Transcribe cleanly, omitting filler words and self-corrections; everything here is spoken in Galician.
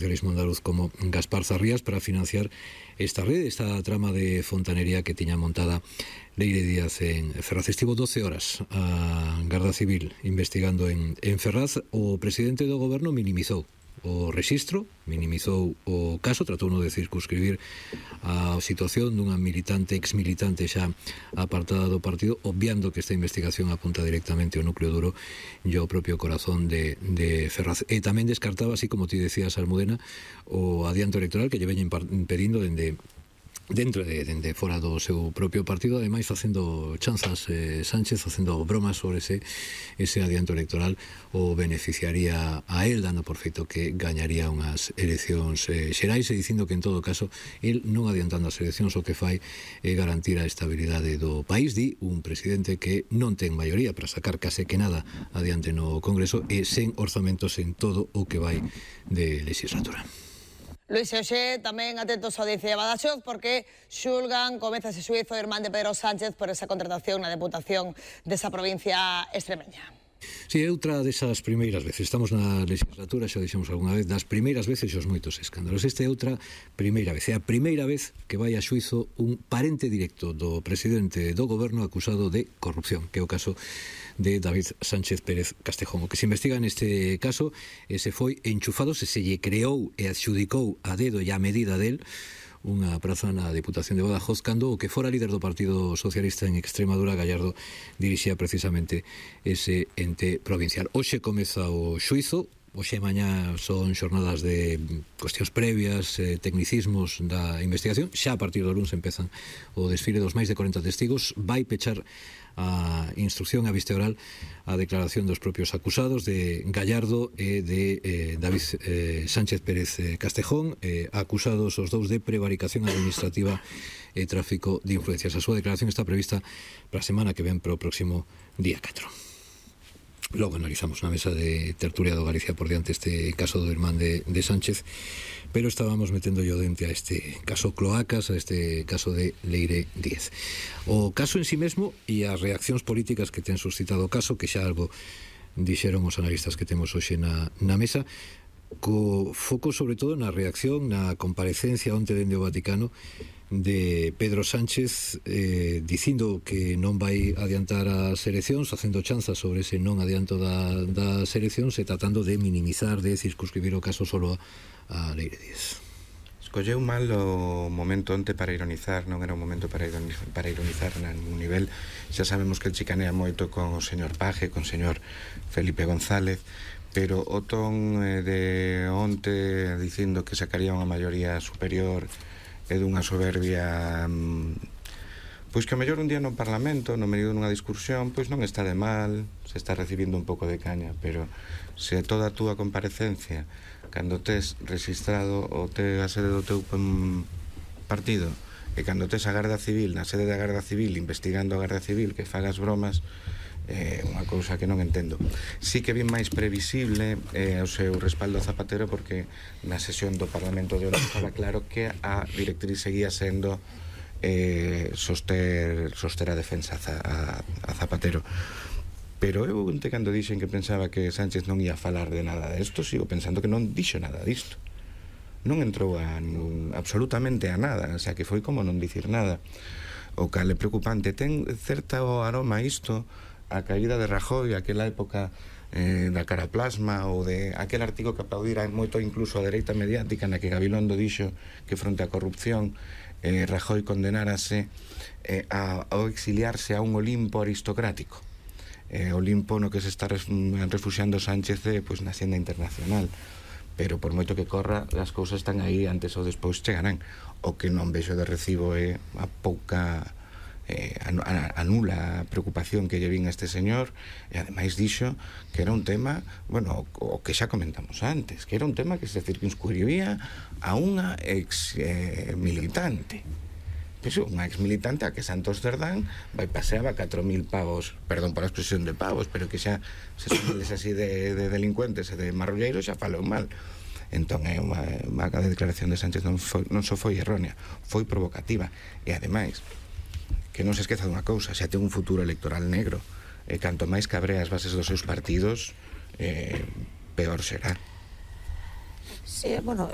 socialismo andaluz como Gaspar Zarrías para financiar esta rede, esta trama de fontanería que tiña montada Leire Díaz en Ferraz. Estivo 12 horas a Garda Civil investigando en Ferraz. O presidente do goberno minimizou o rexistro, minimizou o caso, tratou de circunscribir a situación dunha militante, exmilitante xa apartada do partido, obviando que esta investigación apunta directamente ao núcleo duro e ao propio corazón de Ferraz. E tamén descartaba, así como ti decías, Almudena, o adianto electoral que lle veñen impedindo dentro de fora do seu propio partido, ademais facendo chanzas Sánchez, facendo bromas sobre ese adianto electoral o beneficiaría a él, dando por feito que gañaría unhas eleccións xerais, e dicindo que en todo caso él non adiantando as eleccións o que fai é garantir a estabilidade do país. Di un presidente que non ten maioría para sacar case que nada adiante no Congreso e sen orzamentos en todo o que vai de legislatura. Luis Oxé, tamén atentos á audiencia de Badaxoz, porque xulgan, comeza ese xuizo irmán de Pedro Sánchez por esa contratación na Deputación desa provincia extremeña. Si, é outra desas primeiras veces. Estamos na legislatura, xa dixemos algunha vez, das primeiras veces os moitos escándalos. Esta é outra primeira vez. É a primeira vez que vai a xuizo un parente directo do presidente do goberno acusado de corrupción, que é o caso de David Sánchez Pérez Castejón. O que se investiga neste caso se foi enchufado, se lle creou e adxudicou a dedo e a medida del unha praza na Deputación de Badajoz cando o que fora líder do Partido Socialista en Extremadura, Gallardo, dirixía precisamente ese ente provincial. Hoxe comeza o xuizo. Hoxe e mañá son xornadas de cuestións previas, tecnicismos da investigación. Xa a partir do luns empezan o desfile dos máis de 40 testigos. Vai pechar a instrucción a vista oral a declaración dos propios acusados de Gallardo e de David Sánchez Pérez Castejón, acusados os dous de prevaricación administrativa e tráfico de influencias. A súa declaración está prevista para a semana que ven, para o próximo día 4. Logo analizamos na mesa de tertulia do Galicia por diante este caso do irmán de Sánchez, pero estábamos metendo yo dente a este caso Cloacas, a este caso de Leire Díaz. O caso en sí mesmo e as reaccións políticas que ten suscitado o caso, que xa algo dixeron os analistas que temos hoxe na mesa, co foco sobre todo na reacción, na comparecencia onte dende o Vaticano de Pedro Sánchez, dicindo que non vai adiantar as eleccións, facendo chanzas sobre ese non adianto das eleccións e tratando de minimizar, de circunscribir o caso solo a Leire Díaz. Escolleu mal o momento onte para ironizar, non era un momento para ironizar nun nivel. Xa sabemos que el chicanea moito con o señor Paje, con o señor Felipe González, pero o ton de onte dicindo que sacaría unha maioría superior é dunha soberbia, pois que a mellor un día no Parlamento, no medio dunha discusión, pois non está de mal, se está recibindo un pouco de caña, pero se toda a túa comparecencia, cando tes registrado o a sede do teu partido, e cando tes a Garda Civil, na sede da Garda Civil, investigando a Garda Civil, que fagas bromas, unha cousa que non entendo. Sí que bien máis previsible o seu respaldo a Zapatero, porque na sesión do Parlamento de hoxe estaba claro que a directriz seguía sendo soster a defensa a Zapatero. Pero eu cando dixen que pensaba que Sánchez non ia falar de nada desto, sigo pensando que non dixo nada disto. Non entrou absolutamente a nada, o sea, que foi como non dicir nada. O cal é preocupante, ten certo aroma isto a caída de Rajoy, aquela época da caraplasma, ou de aquel artigo que aplaudira moito incluso a dereita mediática, na que Gabilondo dixo que fronte á corrupción Rajoy condenárase ao exiliarse a un Olimpo aristocrático, Olimpo no que se está refuxiando Sánchez pois na xenda internacional. Pero por moito que corra, as cousas están aí, antes ou despois chegarán. O que non vexo de recibo é a pouca a nula preocupación que lle vin a este señor, e ademais dixo que era un tema, bueno, o que xa comentamos antes, que era un tema que se circunscribía a unha ex militante. Eso, unha ex militante a que Santos Cerdán vai paseaba 4.000 pavos, perdón por a expresión de pavos, pero que xa se someles así de delincuentes e de marrulleiros xa falou mal. Entón é unha declaración de Sánchez non só foi errónea, foi provocativa, e ademais que non se esqueza dunha cousa, xa ten un futuro electoral negro, e canto máis cabre as bases dos seus partidos, peor será. Sí, bueno,